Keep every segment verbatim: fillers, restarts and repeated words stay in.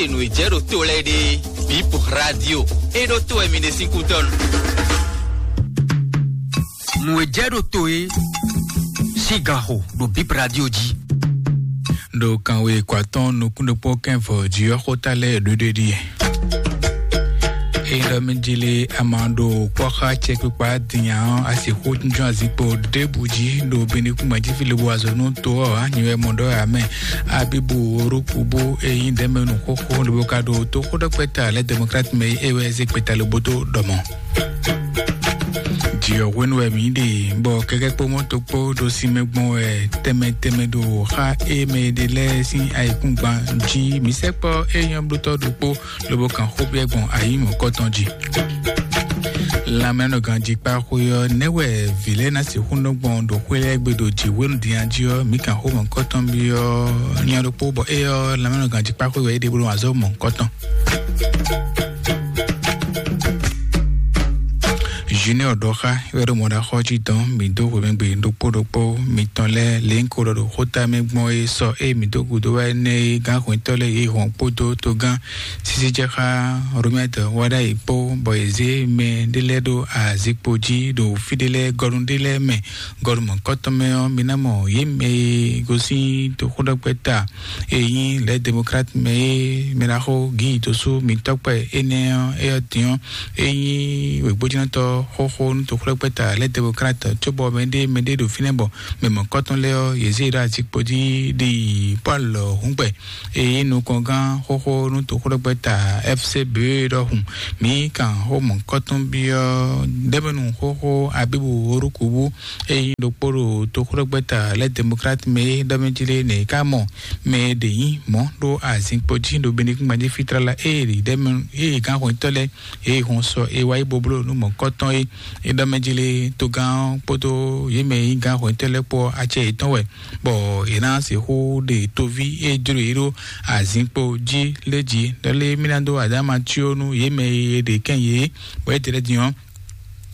Nǔ e jɛ ɖo to lɛ́ɛ ɖe, Bip Radio, é ɖó to wɛ mi ɖe sín kútɔ́nu. Nǔ e jɛ ɖo to é, sigaxo ɖo Bip Radio jí. Ɖo kanwe kɔ atɔn nukún ɖokpó kɛnvɔ jí ɔ́, xóta lɛ́ɛ ɖuɖe ɖíe. Ényí ɖɔ mí jí lé, a ma ɖo kpɔ́ xá cɛkpikpa din ǎ ɔ́, a sixú jínjɔ́n azinkpo ɖěbǔ jí ɖo Benekúngban jí fí lobo azɔ̌ nú to ɔ́ ǎ. Nyi wɛ mɔ ɖɔ ǎ mɛ. Abibu Orukubu e nyí ɖɛ̌mɛnu xóxó lobo ka ɖo toxóɖɔkpɛ́ta lɛ́ Demokrat mɛ é wɛ zé kpeta lobo dó ɖɔ mɔ̌. Jǐ ɔ́ hwenu wɛ mǐ ɖe, bɔ kɛkɛ́ kpó mɔ́to kpó ɖo sinmɛ gbɔn wɛ tɛnmɛ tɛnmɛ ɖo xá e mɛ e ɖe lɛ́ɛ sín ayǐkúngban jí. Mǐ sɛkpɔ́ éyɔ́blótɔ́ ɖokpó lobo kan xó byɔ́ gbɔn ayǐ mɔ̌kɔtɔn jí. Lanmɛnɔganjíkpáxwé ɔ́, nɛ̌ wɛ vǐ lɛ́ɛ ná sixú nɔ gbɔn ɖo xwé lɛ́ɛ gbe ɖo jǐ hwenu din jí ɔ́, mǐ kan xó mɔ̌kɔtɔn byɔ́ nya ɖokpó, bɔ é ɔ́, lanmɛnɔganjíkpáxwé wɛ é ɖe bó nɔ azɔ̌ mɔ̌kɔtɔn. Junior ɖɔ xá wɛ ɖo mɔɖaxɔ jí dɔn mǐ dó hwemɛgbe ɖokpó ɖokpó mitɔn lɛ́ɛ lě un ko ɖɔ ɖo xóta mɛ gbɔn é sɔ ée mǐ dó gǔdo wá énɛ́ é gán hwɛntɔ́ lɛ́ɛ yě hɔn kpódó togán sísí jɛ xá Romɛtɔ wá ɖ'ayǐ kpó, bɔ yě zé mɛ ɖé lɛ́ɛ ɖó azikpo jí ɖo fí ɖé lɛ́ɛ gɔnu ɖé lɛ́ɛ mɛ. Gɔnu mɔ̌kɔtɔn mɛ ɔ́, mi ná mɔ yě mɛ e gosín toxóɖɔkpɛ́ta e nyí lɛ̌ Demokrat mɛ é mɛ ɖaxó Gíi dó sú mǐtɔ́ kpɛ énɛ́ ɔ́, é ɔ́ din ɔ́, é nyí wěgbójínɔtɔ́ xóxó nú toxóɖɔkpɛ́ta lɛ̌ Demokrat, cóbɔ mɛɖé mɛɖé ɖo fínɛ́ bɔ mɛ mɔ̌kɔtɔn lɛ́ɛ ɔ́, yě zé ɖó azikpo jí ɖi Pɔ́lu hǔngbɛ. Eye nukɔngán xóxó nú toxóɖɔkpɛ́ta F C B ɖɔhun. Mǐ kan xó mɔ̌kɔtɔn byɔ́ ɖɛ̌mɛnu xóxó Abíbu Orukubu, eye nyí ɖokpó ɖo toxóɖɔkpɛ́ta lɛ́ Demokrat mɛ é ɖɔ mɛ jí lé nɛ ká mɔ mɛ e ɖě nyí mɔ̌ ɖó azinkpo jí ɖo Benekúngban jí fí tlala ée ɖi ɖɛ̌mɛnu ée gán hwɛntɔ́ lɛ́ɛ ée hɔn sɔ é wá yi bo bló nú mɔ̌kɔtɔn é. É ɖɔ mɛ jí lé togán ɔ́ kpódó yě mɛ e nyí gán hwɛntɔ́ lɛ́ɛ kpó ɔ́, acɛ yětɔn wɛ, bɔ è nǎ sixú ɖe toví e jló yě ɖó azinkpo jí lé jí. Ɖɔ lé mí ná dó adáma cyó nú yě mɛ e è ɖe kɛn yě, bɔ é tlɛ din ɔ́,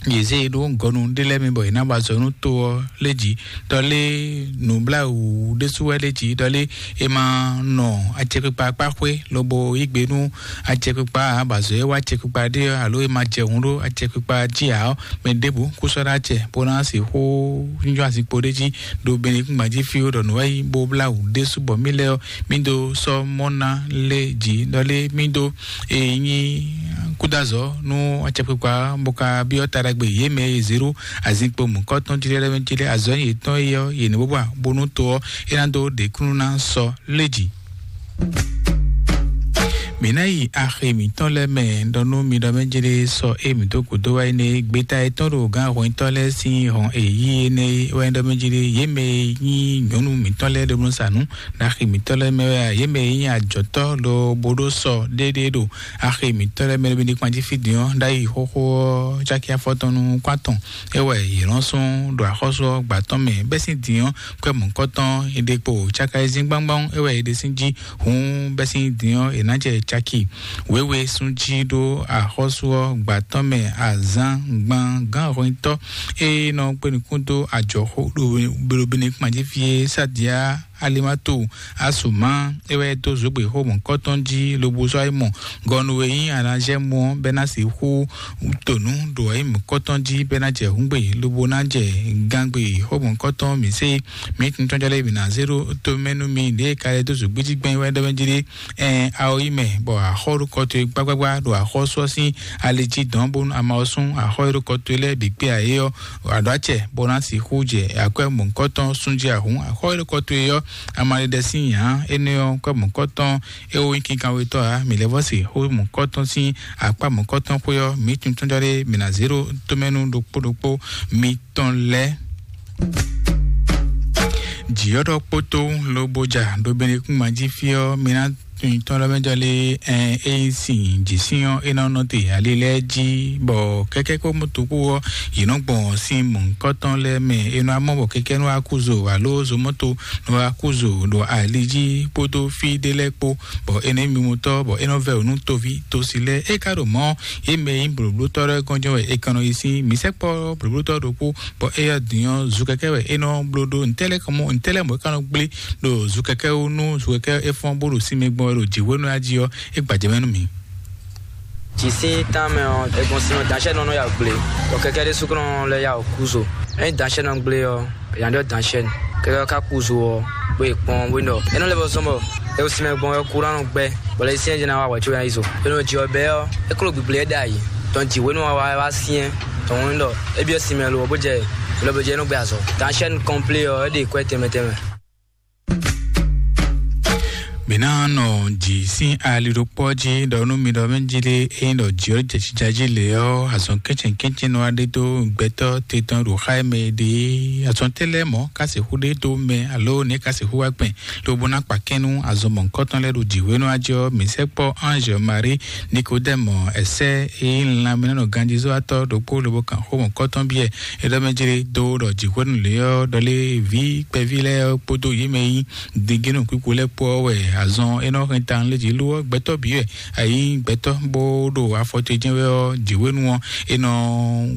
yě zé e ɖó gɔnu ɖé lɛ́ɛ mɛ bɔ è nǎ ba azɔ̌ nú to ɔ́ lé jí. Ɖɔ lé nǔbláwǔ ɖésú wɛ lé jí. Ɖɔ lé è ma nɔ acɛkpikpa kpá xwé lobo yí gbe nú acɛkpikpa ǎ, bɔ azɔ̌ e wá acɛkpikpa ɖé ɔ́, alo è ma jɛ hǔn ɖó acɛkpikpa jí ǎ ɔ́, mɛ ɖěbǔ kú sɔ́ ɖó acɛ bó ná sixú nyɔ́ azinkpo ɖé jí ɖo Benekúngban jí fí ɖɔ nǔ wɛ nyí bó blá wǔ ɖésú bɔ mí lɛ́ɛ ɔ́, mí dó sɔ́ mɔ́ ná lé jí. Ɖɔ lé mí dó e nyí kúdazɔ̌ nú acɛkpikpa bó ka byɔ́ ta ɖagbe yě mɛ e zě ɖó azinkpo mǔkɔ́tɔn jí lɛ́ɛ mɛ jí lɛ́ɛ azɔ̌ yětɔn é ɔ́, yě ní bó ba bónú to ɔ́, é ná dó ɖe kúnnu ná sɔ́ lé jí. Mǐ ná yi axi mǐtɔn lɛ́ɛ mɛ ɖɔ nú mi ɖɔ mɛ jí lé sɔ é mǐ dó gǔdo wá énɛ́ gbeta e tɔn ɖo gǎn hwɛntɔ́ lɛ́ɛ sín hɔn e yí énɛ́ wá ɖɔ mɛ jí lé yě mɛ e nyí nyɔ̌nu mǐtɔn lɛ́ɛ ɖo nú sa nǔ ɖo axi mǐtɔn lɛ́ɛ mɛ wɛ a? Yě mɛ e nyí ajɔ̌tɔ́ lobo ɖó sɔ ɖéɖé ɖo axi mǐtɔn lɛ́ɛ mɛ ɖo mi ní kpan jí fí din ɔ́, ɖ'ayǐ xóxó ɔ́, cáki afɔtɔn nú kwán tɔn é wɛ yě nɔ́ sún ɖo axɔ́sú ɔ́ gbǎ tɔn mɛ bɛ́ sín din ɔ́, kwɛ́ mɔ̌kɔtɔn è ɖe kpo cáka e zín gbángbán é wɛ è ɖe sín jí. Hǔn bɛ́ sín din ɔ́, è nǎ jɛ caki wěwe sún jí ɖó axɔ́sú ɔ́ gbǎ tɔn mɛ azǎn gban gán hwɛntɔ́ e nɔ kpé nukún dó ajɔ̌xó ɖo Benekúnma jí fí é Sadiya Alimato Asuma é wɛ dó zǒgbé xó mɔ̌kɔtɔn jí lobo sɔ́ yi mɔ gɔnu e nyí Anazɛmu ɔ́ bɛ́ ná sixú to nǔ ɖo ayǐ mɔ̌kɔtɔn jí bɛ́ ná jɛ hǔngbe lobo ná jɛ gangbe xó mɔ̌kɔtɔn mǐ se mǐ tuntɔ́n jɔ lɛ́ɛ mǐ ná zé ɖó to mɛ nú mi ɖě ka lɛ́ dó zǒgbé jí gbɛn wɛ ɖɔ mɛ jí ɖé. Ɛn awo yi mɛ bɔ axɔ ɖo kɔ towe gbágbágbá ɖo axɔ́sú ɔ́ sín ali jí dɔn bónú ama ɔ́ sún axɔ e ɖo kɔ towe lɛ́ɛ bǐ kpé ayé ɔ́, aɖɔ́ acɛ bó ná sixú jɛ akwɛ́ mɔ̌hunkɔtɔn sún jí ahǔn. Axɔ e ɖo kɔ towe ɔ́, ama ɖeɖe sín nya énɛ́ ɔ́, kwɛ́ mɔ̌hunkɔtɔn é wó nyí kinkanwetɔ́ ǎ. Mǐ lɛ́ vɔ́ se xó mɔ̌hunkɔtɔn sín akpá mɔ̌hunkɔtɔn xwé ɔ́, mǐ tuntɔ́n jɔ ɖé mǐ ná zé ɖó tomɛnu ɖokpó ɖokpó mi tɔn lɛ́ɛ. Jǐ ɔ́ ɖɔ kpótó lobo ja ɖo Benekúnma jí fí ɔ́, mi ná tunwun tɔn lɔ mɛ jɔ lé ɛn é nyí sin jǐ sín ɔ́, é nɔ nɔ te ali lɛ́ɛ jí, bɔ kɛkɛ́ kpó moto kpó ɔ́, yě nɔ gbɔn sin mɔ̌hunkɔtɔn lɛ́ɛ mɛ. É nɔ amɔ bɔ kɛkɛ́ nɔ wá kú zo alo zomɔto nɔ wá kú zo ɖo ali jí kpódó fí ɖé lɛ́ɛ kpó, bɔ é nɔ nyí mimutɔ́, bɔ é nɔ vɛ́ wǔ nú toví tosi lɛ́ɛ. É ka ɖo mɔ̌, yě mɛ e nyí blǒblótɔ́ lɛ́ɛ gɔ́n jɛ́n wɛ è kɛn nɔ yi sín. Mǐ sɛkpɔ́ blǒblótɔ́ ɖokpó, bɔ éyɛ́ din ɔ́, zu kɛkɛ́ wɛ é nɔ bló ɖó. Ntɛ́ lɛ́ɛ ka mɔ, ntɛ́ lɛ́ɛ mɔ̌ é ka nɔ gblé ɖo zu kɛkɛ́ wú nú zu kɛkɛ́ é fɔ́n bó ɖo sinmɛ gbɔn. wɛ ɖo jǐxwénu ya jí ɔ́, é gbajɛ mɛ nú mì. Jǐ sín tánmɛ ɔ́, è gbɔn sin ɔ́, danṣɛ́nɔ nɔ ya gblé, bɔ kɛkɛ́ ɖé súkúnɔ lɛ́ ya wɔ kúzo. Ényí danṣɛ́nɔ gblé ɔ́, è nǎ ɖɔ danṣɛ́nɔ. Kɛkɛ́ ɔ́ ka kúzo ɔ́, bó yi kpɔ́n, bó nɔ. É nɔ lɛ́ vɔ zɔ́n bɔ è wo sin mɛ gbɔn ɔ́, kúránɔ gbɛ́, bɔ lɛ́ sín jɛ́n ná wa wɛ̌ có ná yi zo. É nɔ jǐ ɔ́ bɛ́ ɔ́, é kló gbigblɛ ɛ ɖ'ayǐ, dɔn jǐ hwenu ɔ́ wá wá syɛ́n, dɔn wɔn ɖɔ é byɔ́ sin mɛ lo ɔ́, bó jɛ lɔ bó jɛ é nɔ gbɛ azɔ̌. Danṣɛ́nɔ kɔnplé ɔ́, é ɖe kwɛ́ tɛnmɛ tɛnmɛ. Mǐ ná nɔ jǐ sín ali ɖokpó ɔ́ jí ɖɔ nú mi ɖɔ mɛ jí ɖé, ényí ɖɔ jǐ ɔ́ jɛ jija jí lě ɔ́, azɔn kɛ́ntsɛn kɛ́ntsɛn nɔ wá ɖe dó gbɛtɔ́ te tɔn ɖo xá e mɛ è ɖe é. Azɔn tɛ́ lɛ́ɛ mɔ̌ ka sixú ɖe dó mɛ, alo nɛ̌ ka sixú wá gbɛn lobo ná kpa kɛ́n nú azɔn mɔ̌hunkɔtɔn lɛ́ɛ ɖo jǐxwénu ɔ́ jí ɔ́? Mǐ sɛkpɔ́ Ange Marie Nicodème ɛsɛ́ e nyí lanmɛnánɔ ganjízɔ́watɔ́ ɖokpó lobo kan xó mɔ̌hunkɔtɔn byɔ́ ɛ. É ɖɔ mɛ jlé dó ɖɔ jǐxwénu lě ɔ́, ɖɔ lé vǐ kpɛví lɛ́ɛ ɔ́ kpódó yě mɛ e nyí dingínɔ kpíkpo lɛ́ɛ kpó ɔ́ wɛ azɔn é nɔ hɛn tawun lé jí lú ɔ́, gbɛtɔ́ bǐ wɛ. Ayǐ gbɛtɔ́ bó ɖo afɔ ce jɛ́n wɛ ɔ́, jǐxwénu ɔ́, é nɔ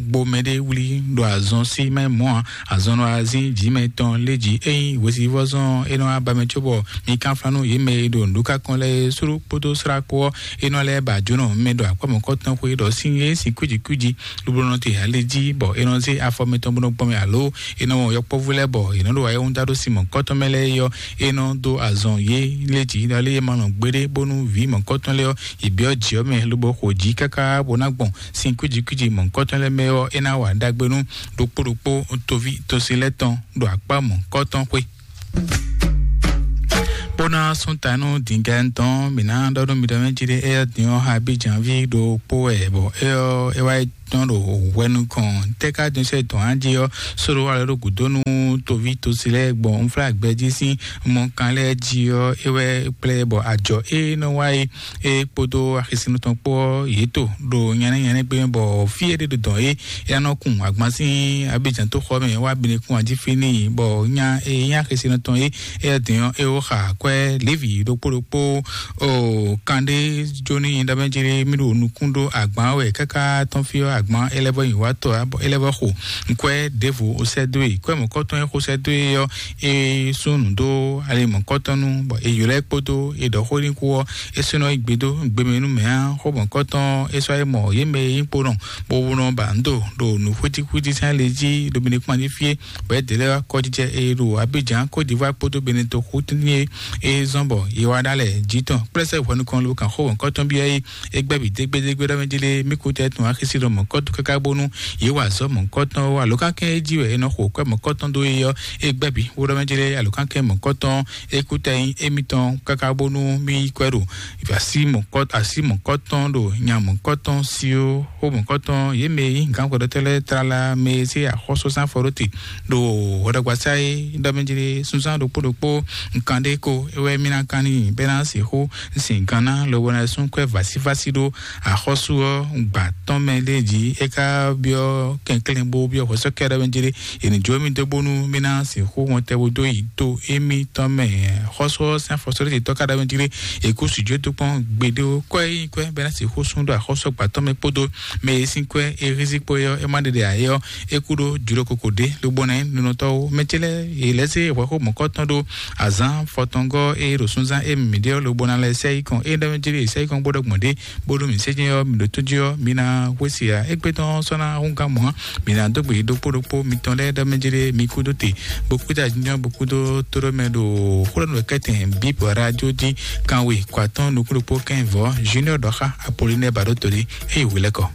gbo mɛɖé wlí ɖo azɔn sí mɛ mɔ̌ ǎ. Azɔn nɔ azín jǐ mɛ tɔn lé jí. Ényí hwesivɔ́zɔn ɔ́, é nɔ wá ba mɛ cóbɔ mi kánflán nú yě mɛ e ɖo nǔɖukákɔn lɛ́ɛ é slú kpódó slá kpó ɔ́, é nɔ lɛ́ ba jǒnɔ mɛ ɖo akpá mɔ̌kɔtɔn xwé ɖɔ sín é sin kwíji kwíji lobo nɔ te ali jí, bɔ é nɔ zé afɔ mɛtɔn bó nɔ gbɔn mɛ, alo é nɔ wɔn yɔkpɔ́vú lɛ́ɛ, bɔ è nɔ ɖo ayɛhúndá ɖó sin mɔ̌kɔtɔn mɛ lɛ́ɛ é ɔ́, é nɔ dó azɔn yě lé jǐ, ɖɔ lé é ma lɔn gbeɖé, bónú vǐ mɔ̌kɔtɔn lɛ́ɛ ɔ́, yě byɔ́ jǐ ɔ́ mɛ lobo xo jǐ káká bó ná gbɔn sin kwíji kwíji mɔ̌kɔtɔn lɛ́ɛ mɛ ɔ́, é ná wa ɖagbe nú ɖokpó ɖokpó toví tosi lɛ́ɛ tɔn ɖo akpá mɔ̌kɔtɔn xwé. Bó ná sún ta nú dǐngán tɔn, mǐ ná ɖɔ nú mi ɖɔ mɛ jí ɖé, éyɛ́ din ɔ́, Abidjan ví ɖokpó wɛ, bɔ é ɔ́, é wá yi tɔn ɖo hwɛ nukɔn. Tɛ́ ka din sɛ́ tɔn á jí ɔ́, sóɖo wá lɛ́ ɖo gǔdo nú toví tosi lɛ́ɛ gbɔn unflágbɛjí sín mɔkan lɛ́ɛ jí ɔ́, é wɛ kplé bɔ ajɔ é nɔ wá é, é kpódó axisínú tɔn kpó ɔ́, yě to ɖo nyɛ́nɛ́ nyɛ́nɛ́ gbé mɛ, bɔ fí e ɖé ɖo dɔn é, é ná nɔ kun agban sín Abidjan tó xɔ mɛ wá binekun ají fí n'i, bɔ nya e nyí axisínú tɔn é, é din ɔ́, é wó xa kwɛ́ Levi ɖokpó ɖokpó o kanɖé jó ní nyi ɖɔ mɛ jí mí ɖo nukún ɖó agban wɛ káká tɔn fí ɔ́, agban é lɛ́ vɔ nyi wá tɔ ǎ, bɔ é lɛ́ vɔ xo nkwɛ́ ɖěvo ó sɛ́ dó e. Kwɛ́ mɔ̌kɔtɔn e xó sɛ́ dó e ɔ́, é sú nǔ dó ali mɔ̌kɔtɔn nu, bɔ è ylɔ́ ɛ kpódó è ɖɔ xó n'i kú ɔ́, é sɔ́ nɔ yi gbe dó gbe mɛ nú mɛ ǎ. Xó mɔ̌kɔtɔn é sɔ́ yi mɔ yě mɛ e nyí kponɔ, bó nɔ ba nǔ do ɖo nǔ xwítíxwítí sín ali jí ɖo Benin kpán jí fí é, bɔ é ɖě lɛ́ɛ wá kɔjijɛ e ɖo Abidjan, Côte d'Ivoire kpódó Benin toxo tɛ́ntin e é zɔ́n bɔ yě wá ɖó alɛ jǐ tɔn kplɛ́ sɛ́ hwɛ nukɔn lobo kan xó mɔ̌kɔtɔn byɔ́ é. É gbɛ́ bǐ dégbédégbé ɖɔ mɛ jí lé, mí kútɛ tun axisí ɖɔ mɔ̌kɔtɔn káká bónú yě wa azɔ̌ mɔ̌kɔtɔn ó. Alǒkankɛ́n e jí wɛ è nɔ xo kwɛ́ mɔ̌kɔtɔn dó é ɔ́, é gbɛ́ bǐ bó ɖɔ mɛ jí lé, alǒkankɛ́n mɔ̌kɔtɔn é kútɛ nyí émítɔn káká bónú mí yí kwɛ́ ɖo así mɔ̌kɔ-, así mɔ̌kɔtɔn ɖo nya mɔ̌kɔtɔn sí ó. Xó mɔ̌kɔtɔn yě mɛ e nyí gǎnxwɛɖɔtɔ́ lɛ́ɛ tlala mɛ e zé axɔ́súzán fɔ ɖó te ɖo hwɛɖɔgbasá é ɖɔ mɛ jí lé, súnzán ɖokpó ɖokpó nkan ɖé ko é wɛ mí ná kán n'i bɔ é ná sixú sin gǎn ná lobo ná sú kwɛ́ vásívásí ɖó axɔ́sú ɔ́ gbǎ tɔn mɛ lé jí. É ka byɔ́ kɛnklɛ́n bó byɔ́ hwɛsɔ́kɛ́ ɖɔ mɛ jí lé, è nǐ jó mì dó bónú mí ná sixú wɔn tɛ́ bó dó yi to émítɔn mɛ. Xɔ́sú ɔ́ sín afɔsɔ́ɖéjɛtɔ́ ka ɖɔ mɛ jí lé, è kú sǐ jó dó kpɔ́n gbeɖé ó. Kwɛ́ e nyí kwɛ́ bɔ é ná sixú sú ɖo axɔ́sú gbǎ tɔn mɛ kpódó mɛ e sín kwɛ́ é hízí kpó é ɔ́, é má ɖe ɖe ǎ é ɔ́, é kú ɖó jǒɖo koko ɖě lobo ná nyí nunɔtɔ́ ó. Mɛ ce lɛ́ɛ yě lɛ́ zé hwɛxó mɔ̌kɔtɔn ɖó azǎn fɔtɔngɔ́ e ɖo súnzán e mǐ ɖe ɔ́ lobo ná lɛ́ sɛ́ yi kɔn. É ɖɔ mɛ jí lé, è sɛ́ yi kɔn bó ɖɔ gbɔn ɖě bónú mǐ sé jɛ́n ɔ́, mǐ ɖo tó jí ɔ́, mǐ ná hwesí ǎ. Égbé tɔn sɔ́ ná húngán mɔ̌ ǎ. Mǐ ná dó gbe ɖokpó ɖokpó mitɔn lɛ́ɛ ɖɔ mɛ jí lé, mi kúdó te, bó kúdó ajínjɔ́n, bó kúdó tóɖɔ́mɛ ɖo xó ɖɔ nú wɛ kɛ́tɛn bǐ bɔ radio jí kanwe kɔ atɔ́ nukún ɖokpó kɛ́n vɔ̌. Junior ɖɔ xá Apolinɛ́ɛ Baɖótolí, é yi hwelɛ́kɔ.